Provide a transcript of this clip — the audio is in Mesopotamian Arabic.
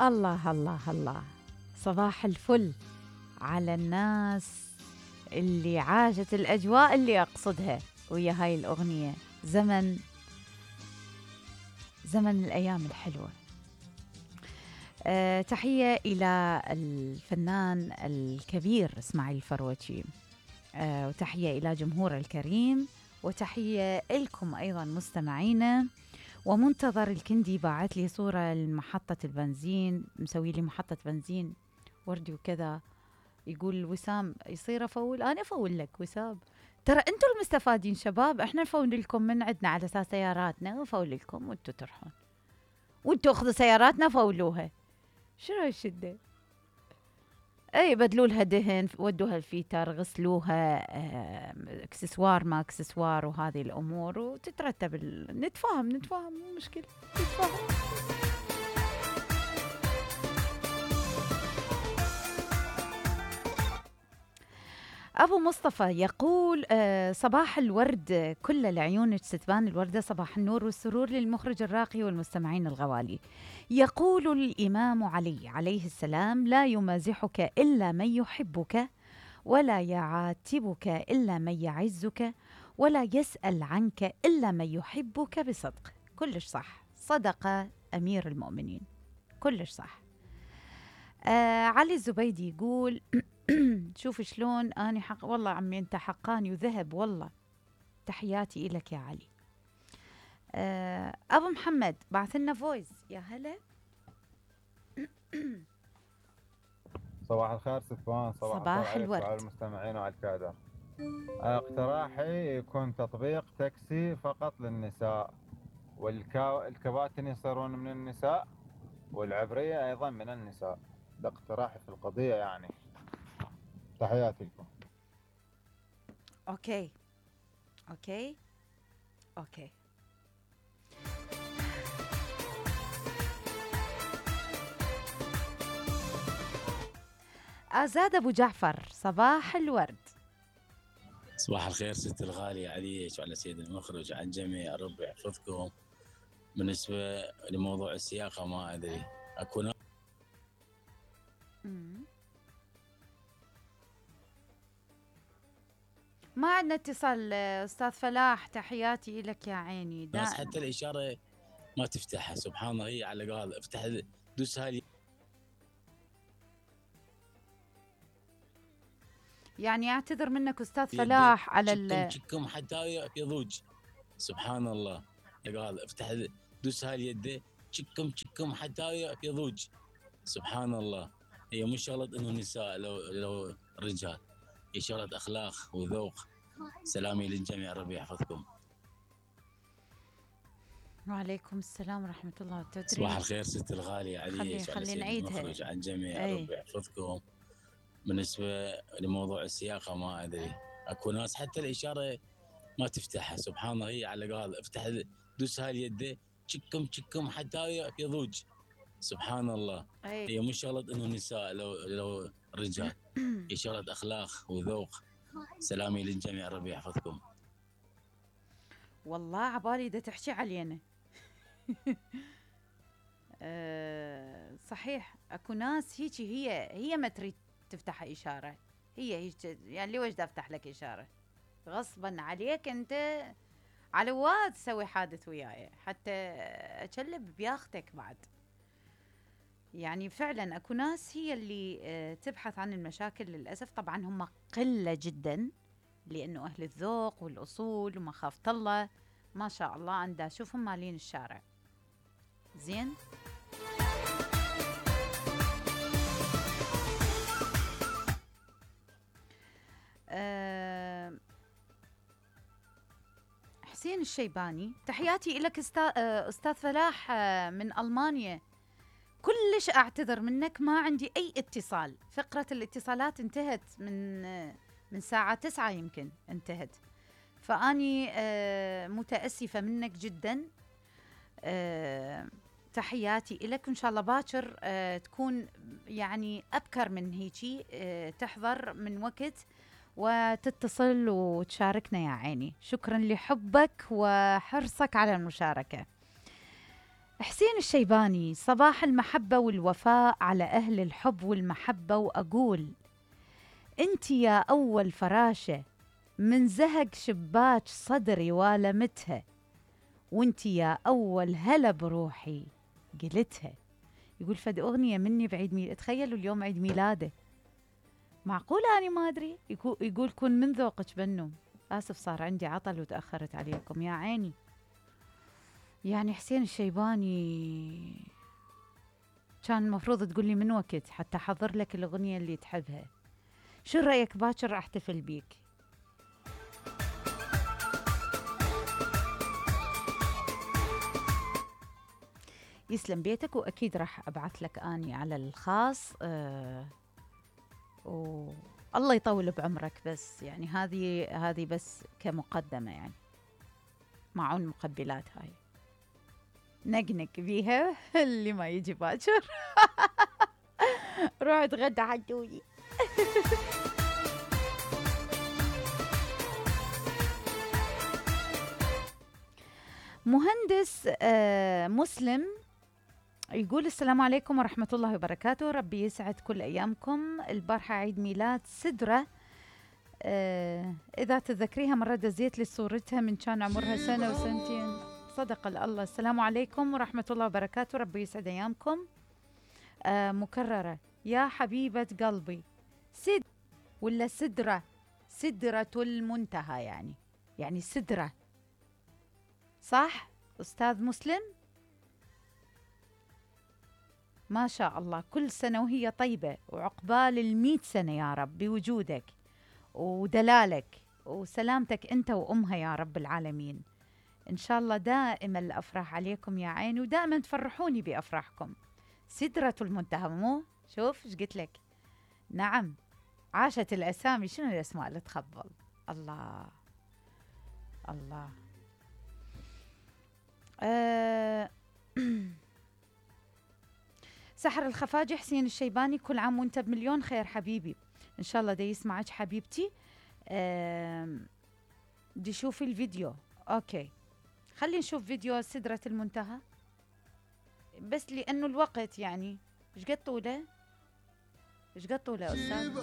الله الله الله. صباح الفل على الناس اللي عاشت الأجواء اللي أقصدها ويا هاي الأغنية. زمن الأيام الحلوة. تحية إلى الفنان الكبير إسماعيل الفروجي، وتحية إلى جمهور الكريم، وتحية لكم أيضا مستمعينا. ومنتظر الكندي باعت لي صورة لمحطة البنزين، مسوي لي محطة بنزين وردي وكذا. يقول وسام يصير أفول، أنا أفول لك وسام، ترى أنتم المستفادين شباب، إحنا نفول لكم من عندنا على أساس سياراتنا، نفول لكم وأنتم تروحون، وأنتم أخذوا سياراتنا فولوها. شنو هالشدة؟ اي بدلوا لها دهن، ودوها الفيتر، غسلوها، اكسسوار ما اكسسوار وهذه الامور، وتترتب نتفاهم مو مشكله، نتفاهم. أبو مصطفى يقول صباح الورد كل لعيونك ستبان الوردة، صباح النور والسرور للمخرج الراقي والمستمعين الغوالي. يقول الإمام علي عليه السلام: لا يمازحك إلا من يحبك، ولا يعاتبك إلا من يعزك، ولا يسأل عنك إلا من يحبك بصدق. كلش صح، صدق أمير المؤمنين، كلش صح. علي الزبيدي يقول شوف شلون أنا والله عمي أنت حقاني وذهب والله. تحياتي إلك يا علي. أبو محمد بعث لنا فويس. يا هلا. صباح الخير صفوان، صباح الخير الورد على المستمعين وعلى الكادر. اقتراحي يكون تطبيق تاكسي فقط للنساء، والكباتن يصيرون من النساء، والعبرية أيضا من النساء. ده اقتراحي في القضية يعني. تحياتي لكم. أوكي. أزاد أبو جعفر صباح الورد. صباح الخير ست الغالية عليك وعلى سيد المخرج وعلى الجميع، ربي يحفظكم. بالنسبة لموضوع السياقة ما أدري أكون ما عندنا اتصال أستاذ فلاح، تحياتي لك يا عيني. ناس حتى الإشارة ما تفتحها، سبحان الله. هي على قال افتح دوس هاي، يعني اعتذر منك أستاذ فلاح على شكم حتى يضوج. سبحان الله. قال افتح دوس هاي اليد، شكم حتى يضوج. سبحان الله. هي مش شغلة انه نساء لو رجال، هي شغلة اخلاق وذوق. سلامي للجميع، ربي يحفظكم. وعليكم السلام ورحمة الله وبركاته. صباح الخير ست الغالية علي خلي نعيدها. المخرج على الجميع، ربي يحفظكم. بالنسبة لموضوع السياقة ما أدري أكو ناس حتى الإشارة ما تفتحها، سبحان الله. هي على قال افتح دوس هاي اليد، شكم حتى يضوج. سبحان الله. هي مش شغلة انه نساء لو رجال، هي شغلة اخلاق وذوق. سلامي للجميع، ربي يحفظكم. والله عبالي دا تحكي علينا. صحيح اكو ناس هيجي، هي ما تريد تفتح اشاره، هي يعني ليش دا افتح لك اشاره غصبا عليك انت، على واد تسوي حادث وياي حتى اكلب بياختك بعد. يعني فعلا اكو ناس هي اللي تبحث عن المشاكل للاسف. طبعا هم قله جدا، لانه اهل الذوق والاصول ومخافه الله ما شاء الله انا دا اشوفهم مالين الشارع زين. حسين الشيباني تحياتي لك أستاذ فلاح من ألمانيا. كلش أعتذر منك، ما عندي أي اتصال، فقرة الاتصالات انتهت من ساعة 9 يمكن انتهت، فأني متأسفة منك جدا. تحياتي لك، وإن شاء الله باكر تكون يعني أبكر من هيجي، تحضر من وقت وتتصل وتشاركنا يا عيني. شكرا لحبك وحرصك على المشاركة. حسين الشيباني: صباح المحبة والوفاء على أهل الحب والمحبة، وأقول أنت يا أول فراشة من زهق شباك صدري والمتها، وأنت يا أول هلا بروحي قلتها. يقول فد أغنية مني بعيد ميلاد، تخيلوا اليوم عيد ميلاده، معقول أنا ما أدري. يقول كن من ذوقك بنو. آسف صار عندي عطل وتأخرت عليكم يا عيني. يعني حسين الشيباني كان المفروض تقول لي من وقت حتى أحضر لك الأغنية اللي تحبها. شو رأيك باكر أحتفل بيك؟ يسلم بيتك، وأكيد راح أبعث لك أني على الخاص. والله يطول بعمرك، بس يعني هذه بس كمقدمة، يعني معون مقبلات هاي نقنق بيها اللي ما يجي باكر روح اتغدى حجوي. مهندس مسلم يقول السلام عليكم ورحمة الله وبركاته، ربي يسعد كل أيامكم. البارحة عيد ميلاد سدرة، إذا تذكريها مرة دزيت لي صورتها من كان عمرها سنة وسنتين. صدق الله. السلام عليكم ورحمة الله وبركاته، ربي يسعد أيامكم. مكررة: يا حبيبة قلبي سد ولا سدرة؟ سدرة المنتهى، يعني سدرة، صح أستاذ مسلم؟ ما شاء الله، كل سنة وهي طيبة، وعقبال 100 سنة يا رب بوجودك ودلالك وسلامتك أنت وأمها يا رب العالمين. إن شاء الله دائما الأفراح عليكم يا عيني، ودائما تفرحوني بأفراحكم. سدرة المنتهى، مو شوف إيش قلت لك. نعم، عاشت الأسامي. شنو الأسماء اللي تخبل؟ الله الله. سحر الخفاجي: حسين الشيباني كل عام وانت بمليون خير حبيبي. ان شاء الله دا يسمعك حبيبتي. دي شوفي الفيديو. اوكي، خلي نشوف فيديو سدرة المنتهى بس لانه الوقت يعني. ايش قد طوله استاذ؟